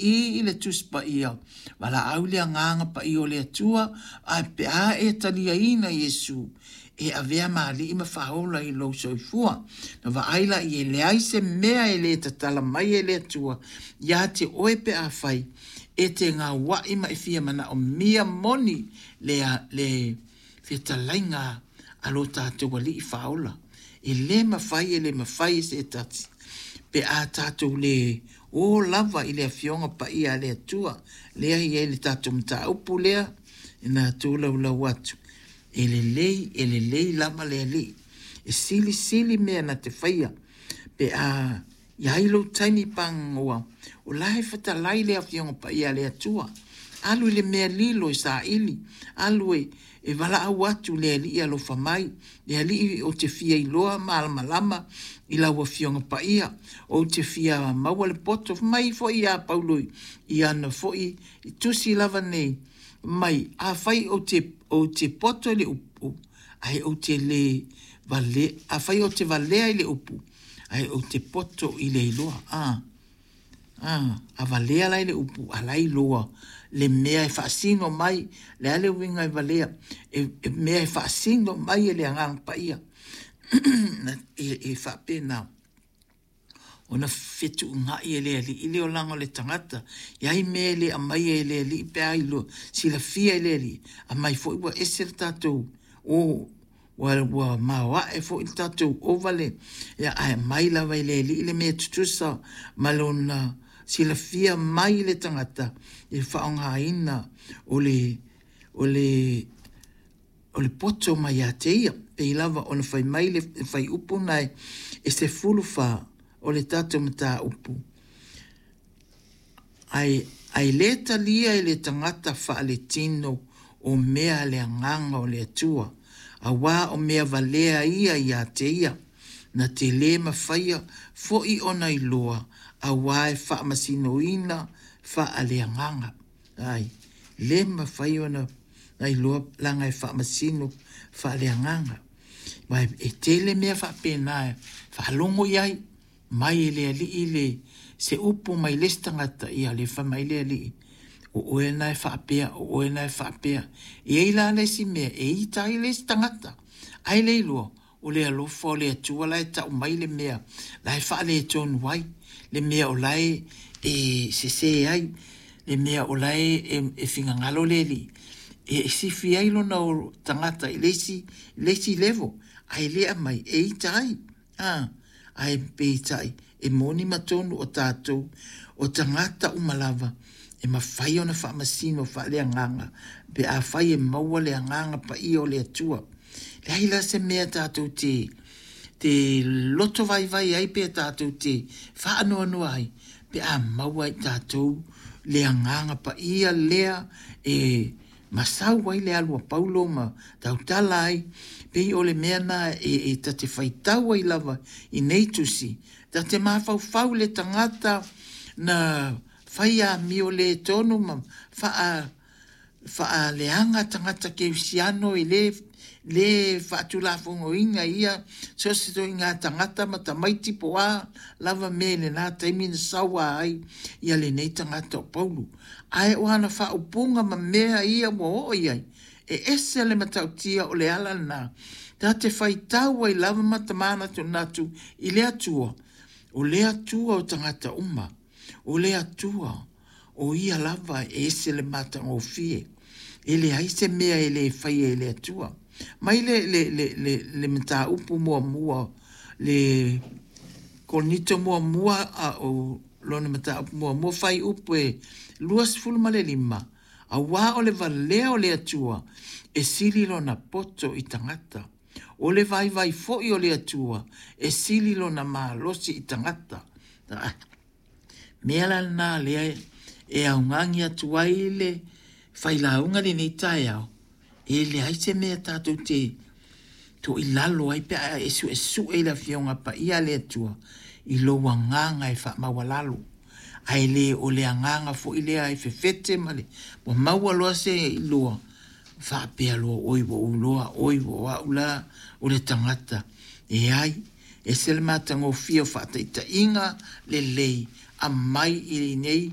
i i le Tusi Paia, valaau i le Agaga Paia o le Atua, ae pe a e taliaina Iesu e avea ma Alii ma Faaola i lou soifua. Na vaai la i e leai se mea e le tatala mai e le Atua ia te oe pe afai e te gaua'i ma e fia manaomia moni le, le fetalaiga a lo tatou Alii Faaola. E le mafai, e le mafai e se tasi pe a tatou le o lava i le Afioga Paia a le Atua, lea e i ai le tatou mataupu lea na tolaulau atu. E lelei, e lelei lava le Alii. E silisili mea na te faia pe a i ai lou taimi pagagoa, o la e fetalai le Afioga Paia a le Atua. Alu i le mea lilo e saili, alu e, e valaau atu le Alii alofa mai, le Alii ou te fia iloa malamalama i lau Afioga Paia, ou te fia maua le poto. Fai mai foi ia Paulo i ana foi tusi lava nei, mai, afai ou te, ou te poto i le upu, ae ou te le vale, afai ou te valea i le upu, ae ou te poto i le iloa. A, a, a valea la i le upu, a la iloa le mea e faasino mai, le a le uiga e valea, e, e mea e faasino mai e le Agaga Paia. e, e faapena ona fetuunai e le alii le olaga o le tagata. E ai mea e le aumaia e le alii pe a iloa, silafia e le alii, aumai foi ua ese le tatou o ua, ua maoae foi le tatou ova le, ia, ae aumai lava e le alii le mea tutusa ma lona silafia mai le tagata i le faaaogaina o le, o le o le poto mai ia te ia. Pei lava ona fai mai le fuaiupu na e 14 o le tatou mataupu, ae, ae le talia e le tagata faaletino o mea a le agaga o le Atua, auā o mea valea ia ia te ia, na te le mafaia foi ona iloa, auā e faamasinoina faaleagaga. Ai, le mafai ona iloa leaga e faamasino faaleagaga. Ma e tele mea faapena e faalogo i ai mai e le alii le se upu mai le isi tagata, ia le fai mai le alii, o oe na e faapea, o oe na e faapea. E i ai la le isi mea e ita ai le isi tagata, ae le iloa o le alofa o le Atua la e tau mai le mea la e faaletonu ai, le mea o la e, e sese ai, le mea o la e, e, e finagalo le Alii e sifi ai lona tagata i le isi, le isi level, ae le aumai e ita ai. Ah, ae peitai e moni ma tonu o tatou o tagata uma lava e mafai ona faamasino faaleagaga pe afai e maua le agaga paia o le Atua. Leai la se mea tatou te te loto vaivai ai pe tatou te faanoanoa ai pe a maua i tatou le agaga paia lea e masau ai le alu a Paulo ma tautala ai, pei o le mea na e, e ta te faitau ai lava i nei tusi, ta te mafaufau le tagata na fai amio le tonu ma faa faaleaga tagata kerisiano e le le faatulafonoina ia so o se ituaiga tagata ma tamaiti po o a lava mea i lena taimi na saua ai ia lenei tagata o Paulo. Ae o ana faaupuga ma mea ia ua oo i ai, e ese le matautia o le ala lena ta te faitau ai lava ma ta manatunatu i le Atua, o le Atua o tagata uma, o le Atua o ia lava e ese le matagofie. E leai se mea e le faia e le Atua. Mai le, le, le, le, le mataupu muamua, le Korinito muamua a o lona mataupu muamua fuaiupu e 25, auā o le valea o le Atua e sili lona poto i tagata. O le vaivai foi o le Atua e sili lona malosi i tagata. Mea la lena lea e augani atu ai le failauga lenei taeao, e leai se mea tatou te toilalo ai pe a e suesue i le Afioga Paia a le Atua i lou agaga e faamaualalo. Ae le o le agaga foi lea e fefete ma le ua maua loa se iloa, faapea loa, oi ua ou iloa, oi ua o au la o le tagata. E ai, ese le matagofie o faataitaiga lelei aumai i lenei